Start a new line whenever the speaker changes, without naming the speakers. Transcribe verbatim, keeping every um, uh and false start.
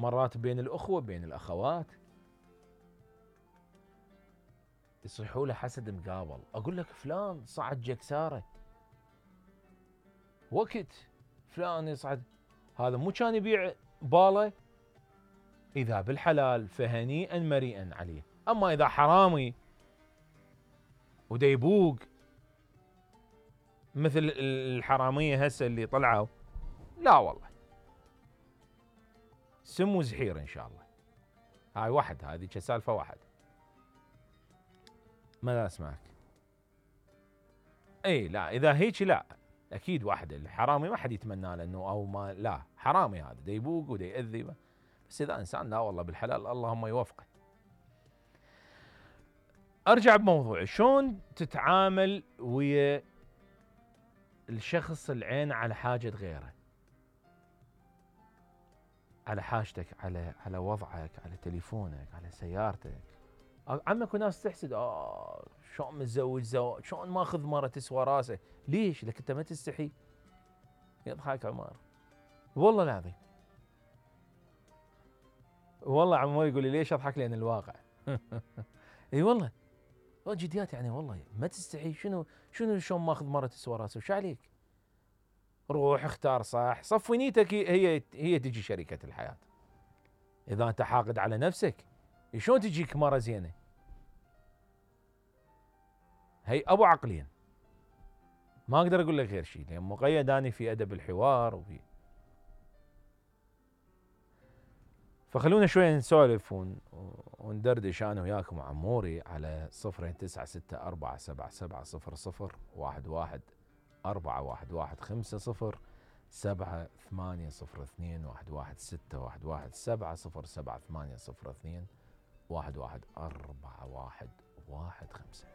مرات بين الأخوة بين الأخوات يصيحوا له حسد مقابل. أقول لك فلان صعد جكسارة وقت فلان يصعد، هذا مو كان يبيع باله؟ إذا بالحلال فهنيئا مريئا عليه. أما إذا حرامي وديبوق مثل الحرامية هسه اللي طلعوا، لا والله سم وزحير إن شاء الله. هاي واحد، هذه كسالفة واحد. ماذا أسمعك؟ اي لا، اذا هيك لا اكيد واحد. الحرامي ما حد يتمنى له انه او ما، لا حرامي هذا دا يبوق ودا يأذي، بس اذا انسان لا والله بالحلال اللهم يوفقه. ارجع بموضوعي، شلون تتعامل ويا الشخص العين على حاجة غيره، على حاجتك، على على وضعك، على تليفونك، على سيارتك. عمك وناس تحسد، اه شلون متزوج زواج، شلون ماخذ مرة تسوى راسه. ليش؟ لك انت ما تستحي؟ يضحك عمر والله العظيم. والله عمو يقول لي ليش اضحك؟ لان الواقع. اي والله جديات يعني، والله ما تستحي. شنو شنو شلون ماخذ مرة تسوى راسه؟ وش عليك؟ روح اختار صح، صفي نيتك، هي هي تجي شريكة الحياة. اذا انت حاقد على نفسك شلون تجيك مرة زينة؟ هي ابو عقلين، ما اقدر اقول لك غير شيء، لان مقيد اني في ادب الحوار وفي. فخلونا شوي نسولف وندردش انا وياكم وعموري على صفرين تسعة ستة أربعة سبعة سبعة صفر صفر واحد واحد أربعة واحد واحد خمسة صفر سبعة ثمانية صفر اثنين واحد واحد ستة واحد واحد سبعة صفر سبعة ثمانية صفر اثنين واحد واحد أربعة واحد واحد خمسة.